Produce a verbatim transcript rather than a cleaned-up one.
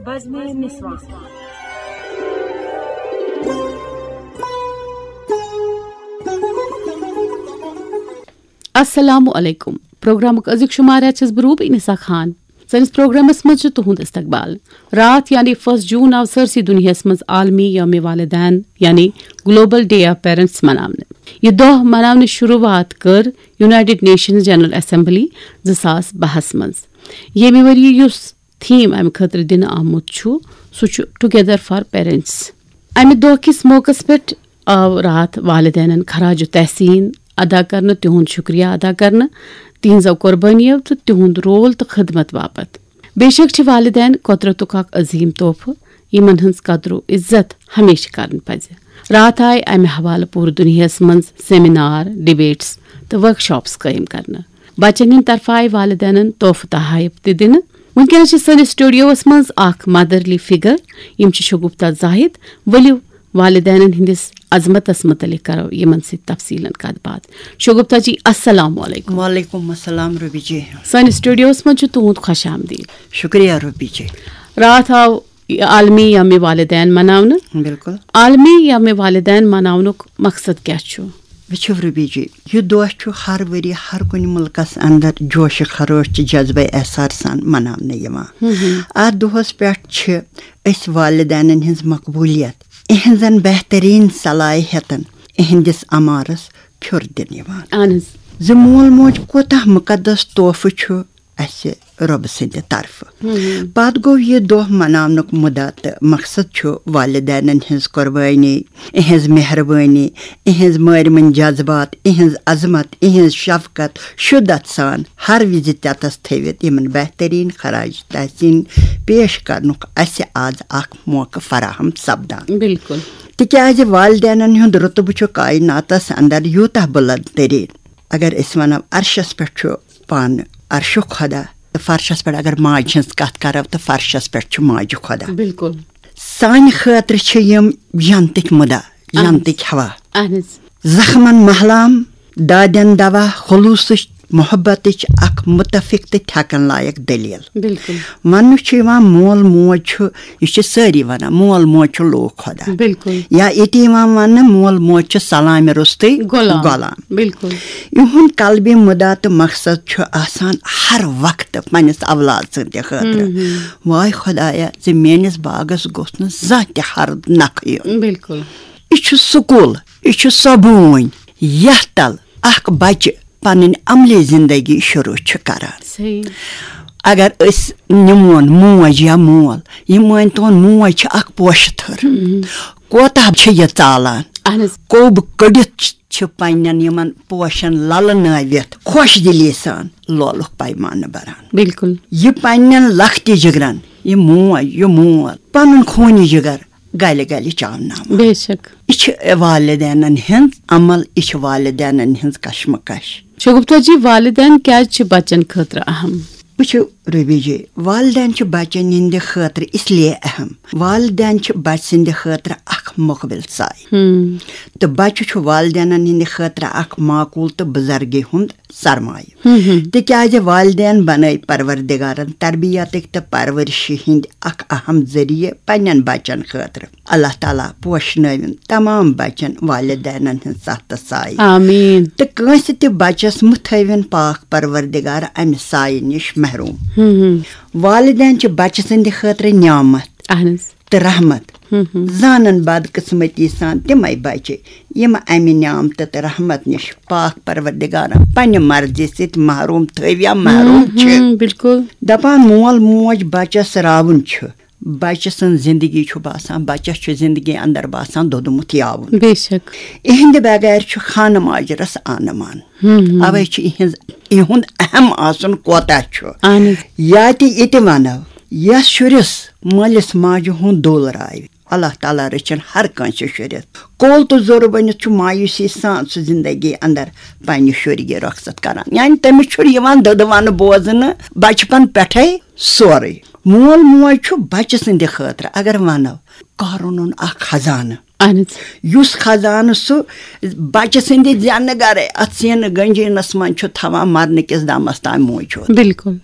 بزمِ نسواں۔ السلام علیکم۔ پروگرامُک أزیُک شمارہ چھَس بہٕ روٗبی نسا خان۔ سٲنِس پروگرامس منٛز چھُ تُہُنٛد استقبال۔ راتھ یعنی فسٹ جون آو سٲرسٕے دُنیاہَس منٛز عالمی یوم والدین یعنی گلوبل ڈے آف پیرنٹس مناونہٕ۔ یہِ دۄہ مناونٕچ شروٗعات کٔر یونائیٹڈ نیشنز جنرل اسمبلی زٕ ساس بَہَس منٛز۔ ییٚمہِ ؤرۍ یہِ یُس تھیم امہِ خٲطرٕ دِنہٕ آمُت چھُ، سُہ چھُ ٹُگیدر فار پیرنٹس۔ امہِ دۄہ کِس موقعس پٮ۪ٹھ آو راتھ والدینن خراج تحسین ادا کرنہٕ، تِہُنٛد شُکریہ ادا کرنہٕ، تِہنٛزو قۄربٲنیو تہٕ تِہُنٛد رول تہٕ خدمت باپتھ۔ بے شک چھِ والدین قۄدرتُک اکھ عظیٖم تحفہٕ، یِمن ہٕنٛز قدر و عزت ہمیشہٕ کرٕنۍ پزِ۔ راتھ آیہِ امہِ حوالہٕ پوٗرٕ دُنیاہس منٛز سیمینار، ڈبیٹس تہٕ ورکشاپس قٲیِم کرنہٕ۔ بچن ہٕنٛدِ طرفہٕ آیہِ والدینن تحفہٕ تحائف تہِ دِنہٕ۔ وٕنکیٚنس چھِ سٲنِس سٹوڈیوس منٛز اکھ مدرلی فگر، یِم چھِ شگفتہ زاہد۔ ؤلِو والدینن ہٕنٛدِس عظمتس متعلق کرو یِمن سۭتۍ تفصیلن کتھ باتھ۔ شگفتہ جی، السلام علیکم۔ وعلیکم السلام روبی جی۔ سٲنِس سٹوڈیوس منٛز چھُ تُہُنٛد خوش آمدید۔ شکریہ روبی جی۔ راتھ آو یہِ عالمی یوم والدین مناونہٕ۔ بالکل۔ عالمی یوم والدین مناونُک مقصد کیٛاہ چھُ؟ وٕچھِو روبی جی، یہِ دۄہ چھُ ہر ؤری ہر کُنہِ مُلکس اندر جوش خروش تہٕ جذبہ احساس سان مناونہٕ یِوان۔ اتھ دۄہس پٮ۪ٹھ چھِ أسۍ والدینن ہٕنٛز مقبولیت، اِہنٛزن بہترین صلاحیتن، اِہنٛدِس عمارس پھیُر دِنہٕ یِوان۔ اہن حظ۔ زِ مول موج کوتاہ مُقدس تحفہٕ چھُ اسہِ رۄبہٕ سٕنٛدِ طرفہٕ۔ پتہٕ گوٚو یہِ دۄہ مناونُک مُدعا تہٕ مقصد چھُ والدینن ہٕنٛز قۄربٲنی، اِہنٛز مہربٲنی، اِہنٛز مٲرمٕنۍ جذبات، اِہنٛز عظمت، اِہنٛز شفقت شدت سان ہر وِزِ تتس تھٲوِتھ یِمن بہترین خراج تحسین پیش کرنُک اسہِ آز اکھ موقعہٕ فراہم سپدان۔ بالکل۔ تِکیازِ والدینن ہُنٛد رُتبہٕ چھُ کائناتس اندر یوٗتاہ بُلند تریٖن۔ اگر أسۍ ونو عرشس پٮ۪ٹھ چھُ پانہٕ عرشُک خۄدا، تہٕ فرشس پٮ۪ٹھ اگر ماجہِ ہٕنٛز کتھ کرو تہٕ فرشس پٮ۪ٹھ چھُ ماجہِ خۄدا۔ بالکل۔ سانہِ خٲطرٕ چھِ یِم جنتٕکۍ مُدا، جنتٕکۍ ہوا۔ اہن حظ۔ زخمن محلام، دادٮ۪ن دوا، خلوصٕچ محبتٕچ اکھ متفق تہٕ تھٮ۪کن لایق دٔلیٖل۔ بالکل۔ وننہٕ چھُ یِوان مول موج چھُ، یہِ چھِ سٲری ونان مول موج چھُ لوٗکھ خۄدا۔ بالکل۔ یا ییٚتہِ یِوان وننہٕ مول موج چھُ سلامہِ روٚستُے غلام۔ غلام۔ بالکل۔ یِہُنٛد قلبی مُدا تہٕ مقصد چھُ آسان ہر وقتہٕ پننِس اولاد سٕنٛدِ خٲطرٕ۔ واے خۄدایا، زِ میٲنِس باغس گوٚژھ نہٕ زانٛہہ تہِ ہرُد نکھٕ یُن۔ بالکل۔ یہِ چھُ سکوٗل، یہِ چھُ سۄ بوٗنۍ، یتھ تل اکھ بچہِ پنٕنۍ عملی زندگی شروع چھُ کران۔ صحیح۔ اگر أسۍ نِمون موج یا مول، یہِ مٲنۍ تون موج چھِ اکھ پوشہٕ تھٔر، کوتاہ چھِ یہِ ژالان۔ اہن حظ۔ کوٚب کٔڑِتھ چھِ پننٮ۪ن یِمن پوشن للہٕ نٲوِتھ خۄش دِلی سان لولُک پیمانہٕ بران۔ بالکل۔ یہِ پننٮ۪ن لختِ جگرن، یہِ موج، یہِ مول، پنُن خوٗنی جگر گلہِ گلہِ چاوناوان۔ بے شک۔ یہِ چھِ والدینن ہٕنٛز عمل، یہِ چھِ والدینن ہٕنٛز کشمکش۔ شگفتہ جی، والدین کیازِ چھِ بچن خٲطرٕ اہم؟ وٕچھِو روبی جی، والدین چھِ بچن ہٕنٛدِ خٲطرٕ اس لیے اہم۔ والدین چھِ بچہٕ سٕنٛدِ خٲطرٕ اکھ مُقبِل سایہِ۔ تہٕ بچہٕ چھُ والدینن ہٕنٛدِ خٲطرٕ اکھ معقول تہٕ بُزرگی ہُنٛد سرمایہِ۔ تِکیازِ والدین بنٲے پروردگارن تربیتٕکۍ تہٕ پرورشہِ ہٕنٛدۍ اکھ اہم ذٔریعہٕ پننٮ۪ن بچن خٲطرٕ۔ اللہ تعالیٰ پوشنٲوِن تمام بچن والدینن ہٕنٛز ستھ تہٕ سایہِ۔ آمین۔ تہٕ کٲنٛسہِ تہِ بچس مہٕ تھٲوِن پاک پروردگار امہِ سایہِ نِش محروم۔ والدین چھِ بچہٕ سٕنٛدِ خٲطرٕ نعمت۔ اہن حظ۔ تہٕ رحمت۔ زانن بدقسمتی سان تِمے بچہِ، یِم امہِ نعمتہٕ تہٕ رحمت نِش پاک پروردگارن پننہِ مرضی سۭتۍ محروم تھٲوۍ یا محروم چھِ۔ بالکل۔ دپان مول موج بچس راوُن چھُ، بچہٕ سٕنٛز زندگی چھُ باسان، بچس چھُ زندگی اندر باسان دوٚدمُت یاوُن۔ بے شک۔ اِہنٛدِ بغیر چھُ خانہٕ ماجرس آنہٕ مان۔ اوے چھُ اِہنٛز، اِہُنٛد اہم آسُن کوتاہ چھُ۔ اہن حظ۔ یا تہِ یہِ تہِ ونو، یس شُرِس مٲلِس ماجہِ ہُنٛد دُل راوِ، اللہ تعالیٰ رٔچھِن ہر کٲنٛسہِ شُرِس۔ کول تہٕ زوٚر بٔنِتھ چھُ مایوسی سان سُہ زندگی اندر پننہِ شُرۍ گہِ رۄخصت کران، یعنی تٔمِس چھُنہٕ یِوان دٔدٕ ونہٕ بوزنہٕ بچپن پٮ۪ٹھے سورُے۔ مول موج چھُ بچہٕ سٕنٛدِ خٲطرٕ، اگر ونو، قارونُن اکھ خزانہٕ۔ اہن حظ۔ یُس خزانہٕ سُہ بچہٕ سٕنٛدِ زینہٕ گرے اتھ سینہٕ گنجینس منٛز چھُ تھاوان مرنہٕ کِس دمس تام موجود۔ بالکل۔